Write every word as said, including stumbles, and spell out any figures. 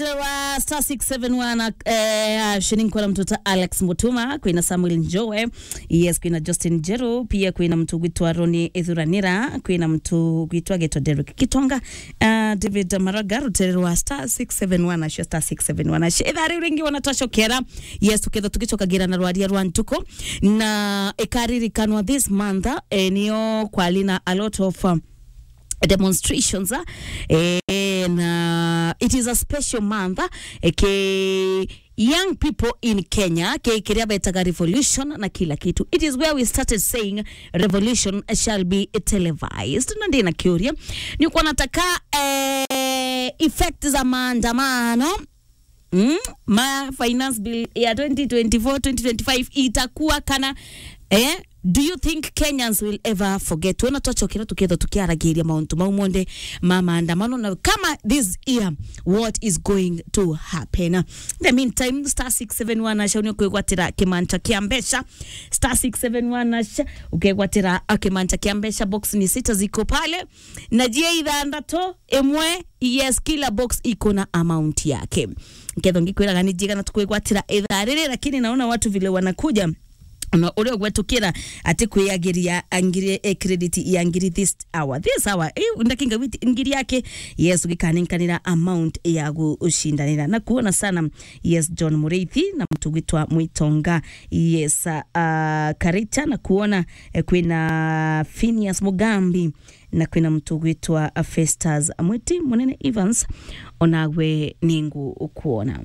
Wa star six seven one, eh, ashini nkona mtu ta Alex Mutuma, kwina Samuel Njoe, yes, kwina Justin Jeru, pia kwina mtu gwitwa Roni Ithuranira, kwina mtu gwitwa Geto Derek Kitonga, uh, David Maraga, rutererwa star six seven one, asho star six seven one, asho. Ithaa riu ringi wana twacokera, yes, tuketha tugicokagira na rwaria rwa ntuku, na ikaririkanwa this month, eh, niyo kwali na a lot of, um, demonstrations, ah, eh, na it is a special month, ah, eh, ke young people in Kenya, ke kiria betaga revolution na kila kitu. It is where we started saying revolution shall be televised. Na ndina kiuria, ni kwa nataka, eh, effect za maandamano, mm, ma finance bill ya twenty twenty-four, twenty twenty-five itakuwa kana, eh, do you think Kenyans will ever forget? Wona twacokera tuketha tukiaragiria mauntu mau monthe ma maandamano, na kama this year, what is going to happen? In the meantime, star six seven one asha ni kwigwatira kimanta kia mbeca. Star six seven one asha, ukegwatira a kimanta kia mbeca, box ni sita ziko pale, na jia ithanthatu, imwe, yes, kila box iko na amount yake. Nketho ngikwiraga ni njigana tukwigwatira ithaa riri, lakini naona watu vile wanakuja, na uria ugwetukira ati kwiagiria ngiri, eh, credit ya ngiri this hour. This hour, eh, ndakinga witi ngiri yake, yes, ugikanenkanira amount ya gushindanira. Na kuona sana, yes, John Muriithi, na mtu gwitwa Mwitonga, yes, uh, Karicha, na kuona, eh, kwina Phineas Mugambi, na kwina mtu gwitwa Festus Mwiti, Munene Evans, onagwe ningu ukuona.